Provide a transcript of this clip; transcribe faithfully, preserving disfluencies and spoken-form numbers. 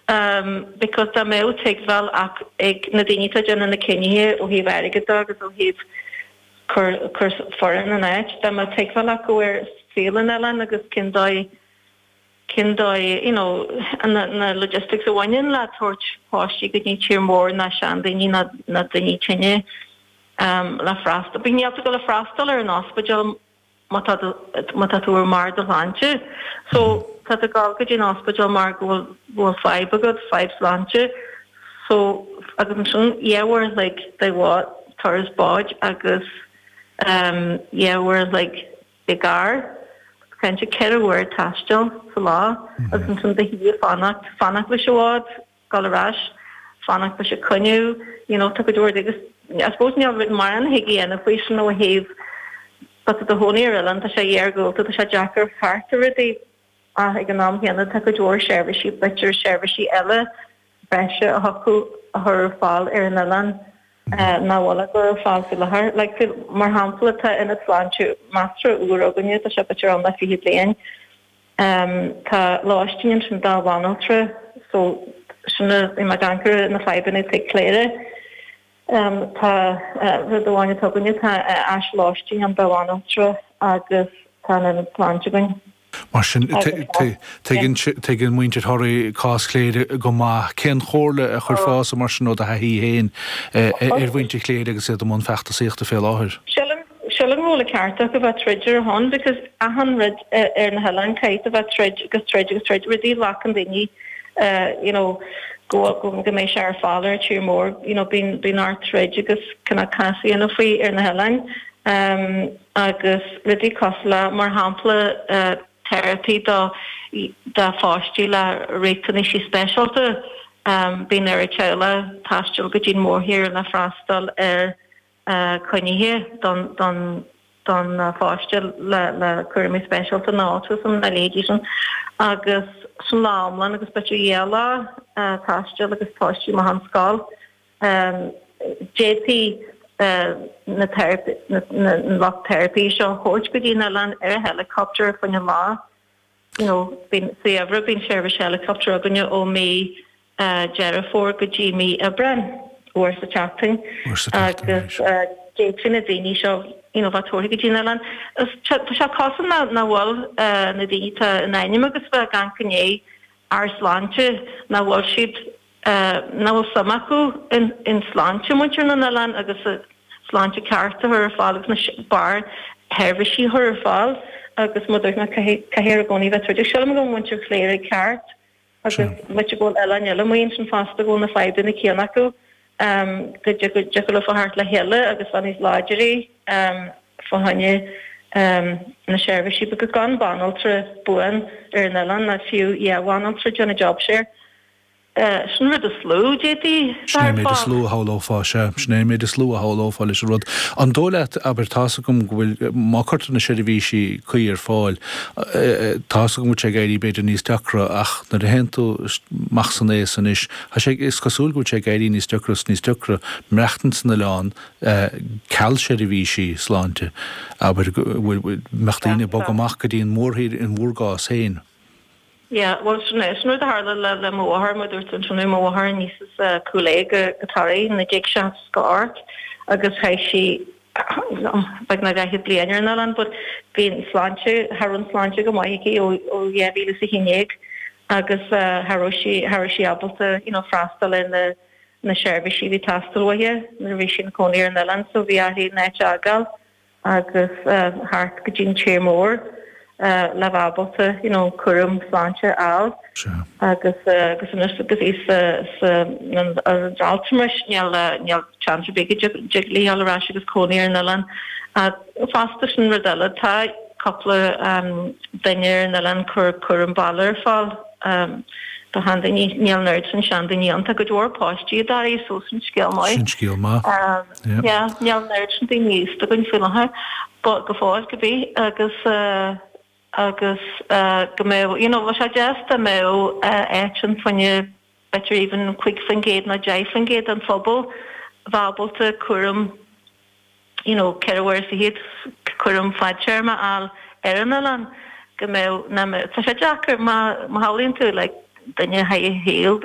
Um, because dá mbeadh tuigbheáil ach ag na daoine atá déanamh na cinnithe ó thaobh airgead agus ó thaobh cur cur foireann an áit dá mbeadh tuigbheáil acu ar saol an oileáin agus cén dóigh cén dóigh you know na, na logistics a bhaineann le tabhairt páistí go dtí tír mór na seandaoine na na daoine tinne um, le freastal. Bíonn tú le freastal ar an ospidéal má tá má tá tú ar mar do shláinte. So tá tú ag gabháil go dtí an ospidéal mar go bhfuil bhfuil fadhb agat fadhb sláinte. So agus ansin dhá uair like de bhád turas báid agus um, dhá uair like i gcarr cinnte ceithre uair taistil sa lá agus ansin de hí fanacht fanacht leis an bhád dul ar ais fanacht leis an canoe you know, tá go dúir agus I suppose níl rud mar an hiige na faoi sin ó thaobh Tá do chónaí ar oileán tá sé iargúlta tá sé deacair thart a rudaí ach ag an am chéanna tá go leor seirbhísí b'fhéidir seirbhísí eile breise a acu a chur ar fáil ar an oileán nach bhfuil a chur ar fáil faoi láthair. Like, mar shampla tá ionad sláinte measartha úr againne tá sé b'fhéidir ann le fiche bliain. Um, tá lóistín ansin do bhanaltra so sin i mar gangur na fadhbanna ag Cléire. Um, tá uh, rud amháin atá againne tá uh, áis lóistín ann do bhanaltra agus tá an sláinte againn. Mar sin tuigeann muintir Thoraí cás Chléire go maith cén chomhairle a chuirfeá mar sin ó do thaithí féin ar mhuintir Chléire agus iad i mbun feachtasaíochta fé láthair. Sílim go bhfuil a ceart go bheith troid ar hon because achan rud ar na hoileáin caithfidh a bheith troid agus troid agus troid rudaí ghlacann daoine you know go go go mbeidh sé ar fáil ar tír mór you know bíonn bíonn ort troid agus cuna casaíonna faoi ar na hoileáin um, agus rudaí cosúil le mar shampla uh, therapy do do pháistí le riachtanaisí speisialta um, bíonn ar teaghlaigh taisteal go dtí mórthír le freastal ar uh, coinnithe don don don uh, pháiste le le cúraimí speisialta na autism na leithéidí sin agus san lámlan agus b'fhéidir dhá lá uh, taisteal agus páistí amach ón scoil um, J P uh, na therapy na, na, na lucht therapy seo thabhairt go dtí an oileán ar a helicopter fan lá you know bíonn saobhra bíonn service helicopter againne ó mí uh, Deireadh Fómhair go dtí mí Aibreáin uair sa tseachtain agus d'fhéadfaí na daoine seo you know bheith tabhartha go dtí an oileán tá sé cosúil na na bhfuil uh, na daoine tá in ainm agus bheith gan gné ar sláinte na bhfuil siad uh, na bhfuil suim acu in, in sláinte muintir na n-oileán agus sláinte ceart a chur ar fáil agus na bar sheirbhísí chur ar fáil agus mu na caithfear i gcónaí bheith troid. Sílim go muintir Chléire ceart agus mu go eile eile muon sin fásta go na fadhbanna céanna acu um, go dtiocfadh le thart le chéile agus bheith níos láidre um, fá choinne um, na seirbhísí go gan banaltra buan ar an oileán na fiú dhá bhanaltra déanamh job share. Uh, sin rud is lú déí Sin méid is lú a shamhlófá sé sin é méid is lú a shamhlófá leis an rud. An dóigh leat abair tá a fhios agam go bhfuil má chuirtear na seirbhísí cuí ar fáil tá a fhios agam sé ag éirí b'fhéidir níos deacra ach nuair a théann tú amach san aos anois Tá sé is cosúil go sé ag éirí níos deacra níos deacra maireachtaint san oileán ceal seirbhísí sláinte abair mbeadh daoine ag bogadh amach go dtí an mórthír in bhur gcás féin. Ja, well sin é sin rud a tharla le le mo mháthair mar dúirt an sin mo mháthair aníos as Cúil Aodha go go Toraigh naoi déag seasca ocht agus chaith sí beagnach daichead bliain ar an oileán, but bhí sláinte thar an sláinte go maith aici ó ó dhá mhíle is a haon déag agus uh, thar sí thar sí ábalta you know, freastal ar na na seirbhísí bhí ag teastáil uaithi nuair a bhí sí ina cónaí ar an oileán, so bhí uirthi an áit a fhágáil agus uh, thart go dtí an tír mór. Uh, le bheith ábalta you know, cúram sláinte a fháil agus uh, agus anois agus í sa sa an altramais níl níl chance big jig lí ar ais agus cónaí ar an oileán. Fosta sin rud eile tá cúpla um, duine ar an oileán cur cúram baile ar fáil um, do sheandaoine níl an oiread sin seandaoine ann tá go leor páistí i dToraigh so sin scéal maith. Sin scéal maith. Um, yeah, níl an oiread sin daoine aosta againn faoi láthair, but go fóill go bí agus uh, agus uh, go mbeadh you know, sé deas dá mbeadh uh, áit an fá choinne b'fhéidir even cúig faoin gcéad nó deich faoin gcéad an phobal bheith ábalta cúram you know, ceithre uair sa chéad cúram fadtéarma a fháil ar an oileán go mbeadh tá sé deacair má má shamhlaíonn tú like, duine a shaol